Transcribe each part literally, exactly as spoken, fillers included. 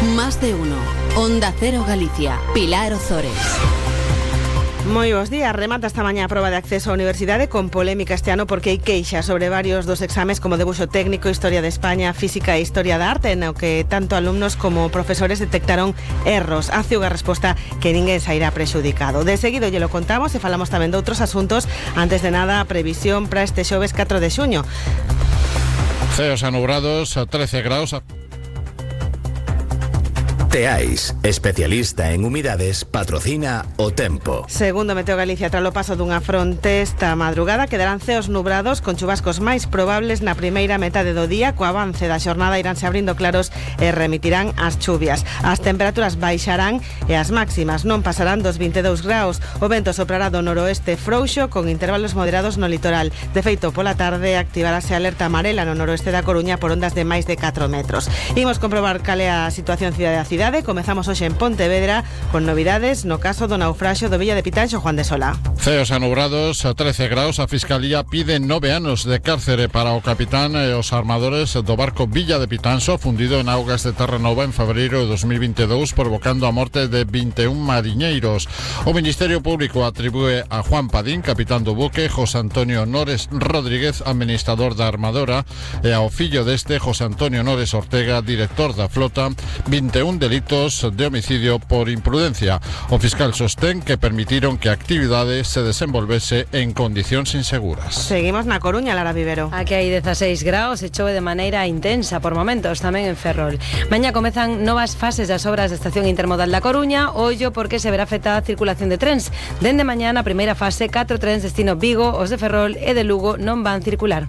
Más de uno. Onda Cero Galicia. Pilar Ozores. Moi bons días. Remata esta mañá a proba de acceso á universidade con polémica este ano porque hai queixa sobre varios dos exames como debuxo técnico, Historia de España, Física e Historia da Arte, no que tanto alumnos como profesores detectaron erros. Hace unha resposta que ninguén sairá prexudicado. De seguido lle lo contamos e falamos tamén de outros asuntos. Antes de nada, a previsión para este xoves catro de xuño. Ceos anubrados, trece graus. Teais, especialista en humidades, patrocina o tempo. Segundo Meteo Galicia, tras o paso dunha fronte esta madrugada, quedarán ceos nubrados con chubascos máis probables na primeira metade do día. Co avance da xornada iránse abrindo claros e remitirán as chuvias. As temperaturas baixarán e as máximas non pasarán dos vinte e dous graus. O vento soprará do noroeste frouxo con intervalos moderados no litoral. De feito, pola tarde activarase a alerta amarela no noroeste da Coruña por ondas de máis de catro metros. Imos comprobar cal é a situación cidade a cidade. Comezamos hoxe en Pontevedra con novidades no caso do naufraxio do Villa de Pitanxo, Juan de Sola. Ceos anubrados, trece graus. A Fiscalía pide nove anos de cárcere para o capitán e os armadores do barco Villa de Pitanxo, fundido en augas de Terranova en febreiro de dos mil vinte e dous, provocando a morte de vinte e un mariñeiros. O Ministerio Público atribúe a Juan Padín, capitán do buque, José Antonio Nores Rodríguez, administrador da armadora, e ao fillo deste, José Antonio Nores Ortega, director da flota, vinte e un delitos de homicidio por imprudencia. O fiscal sostén que permitiron que a actividade se desenvolvese en condicións inseguras. Seguimos na Coruña, Lara Vivero. Aquí hai dezaseis graus e chove de maneira intensa por momentos tamén en Ferrol. Mañá comezan novas fases das obras da estación intermodal da Coruña. Ollo porque se verá afectada a circulación de trens. Dende mañá na primeira fase, catro trens destino Vigo, os de Ferrol e de Lugo non van circular.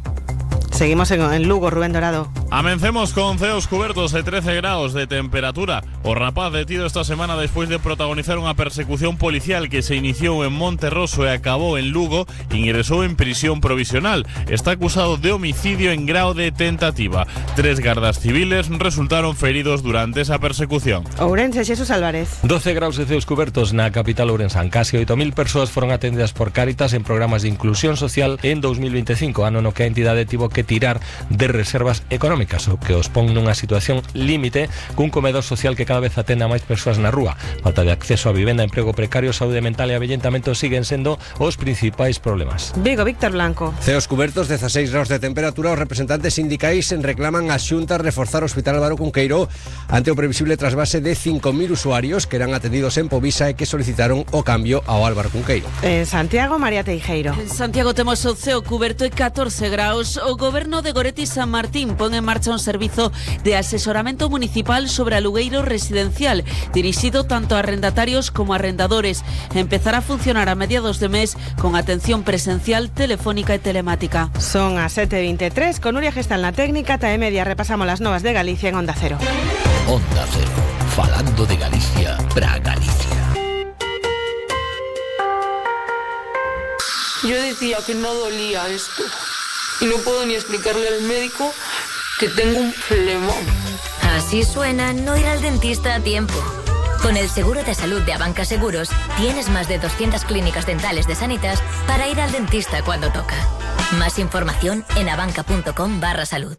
Seguimos en, en Lugo, Rubén Dorado. Amencemos con ceos cubertos e trece graus de temperatura. O rapaz detido esta semana despois de protagonizar unha persecución policial que se iniciou en Monterroso e acabou en Lugo, ingresou en prisión provisional. Está acusado de homicidio en grao de tentativa. Tres gardas civiles resultaron feridos durante esa persecución. Ourense, Xesús Álvarez. doce graus de ceos cubertos na capital ourensán. Casi oito mil persoas foron atendidas por Cáritas en programas de inclusión social en dos mil veinticinco, ano no que a entidade tivo que tirar de reservas económicas, o que os pon nunha situación límite cun comedor social que cada vez atende a máis persoas na rúa. Falta de acceso a vivenda, emprego precario, saúde mental e avellentamento siguen sendo os principais problemas. Vigo, Víctor Blanco. Ceos cubertos, dezaseis graus de temperatura. Os representantes sindicais reclaman ás xuntas reforzar o Hospital Álvaro Cunqueiro ante o previsible trasvase de cinco mil usuarios que eran atendidos en Povisa e que solicitaron o cambio ao Álvaro Cunqueiro. En Santiago, María Teijeiro. En Santiago temos o ceo cuberto e catorce graus. O Goberno de Goretti San Martín pon en marcha un servizo de asesoramento municipal sobre alugueiro residencial, dirixido tanto a arrendatarios como a arrendadores. Empezará a funcionar a mediados de mes con atención presencial, telefónica e telemática. Son as sete e vinte e tres, con Nuria Gestal na técnica, ta e media repasamos las novas de Galicia en Onda Cero. Onda Cero, falando de Galicia para Galicia. Yo decía que no dolía esto y no puedo ni explicarle al médico que tengo un flemón. Así suena no ir al dentista a tiempo. Con el seguro de salud de Abanca Seguros tienes más de doscientas clínicas dentales de Sanitas para ir al dentista cuando toca. Más información en abanca.com barra salud.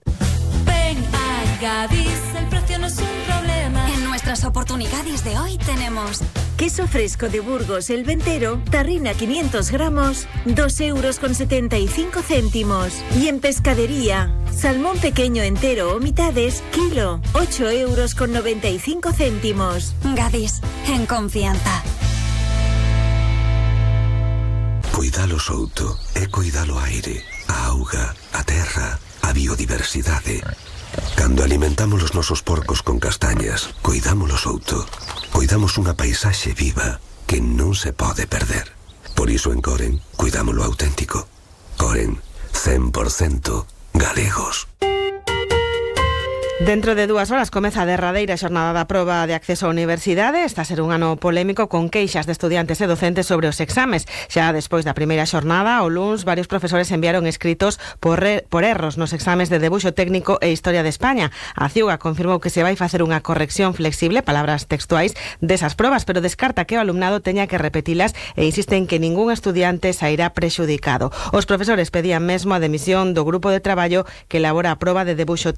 Ven a Gadis, el precio no es un problema. En nuestras oportunidades de hoy tenemos queso fresco de Burgos El Ventero, tarrina quinientos gramos, dos euros con setenta y cinco céntimos. Y en pescadería, salmón pequeño entero o mitades, kilo, ocho euros con noventa y cinco céntimos. Gadis, en confianza. Cuidalo souto e cuidalo aire, a auga, a terra, a biodiversidade. Cando alimentamos os nosos porcos con castañas, cuidamos o souto. Cuidamos unha paisaxe viva que non se pode perder. Por iso en Coren, cuidamos lo auténtico. Coren, cen por cento galegos. Dentro de dúas horas comeza a derradeira xornada da proba de acceso á universidade. Está a ser un ano polémico con queixas de estudiantes e docentes sobre os exames. Xa despois da primeira xornada, o luns, varios profesores enviaron escritos por, re, por erros nos exames de debuxo técnico e Historia de España. A Ciuga confirmou que se vai facer unha corrección flexible, palabras textuais, desas probas, pero descarta que o alumnado teña que repetilas e insiste en que ningún estudiante sairá prexudicado. Os profesores pedían mesmo a demisión do grupo de traballo que elabora a proba de debuxo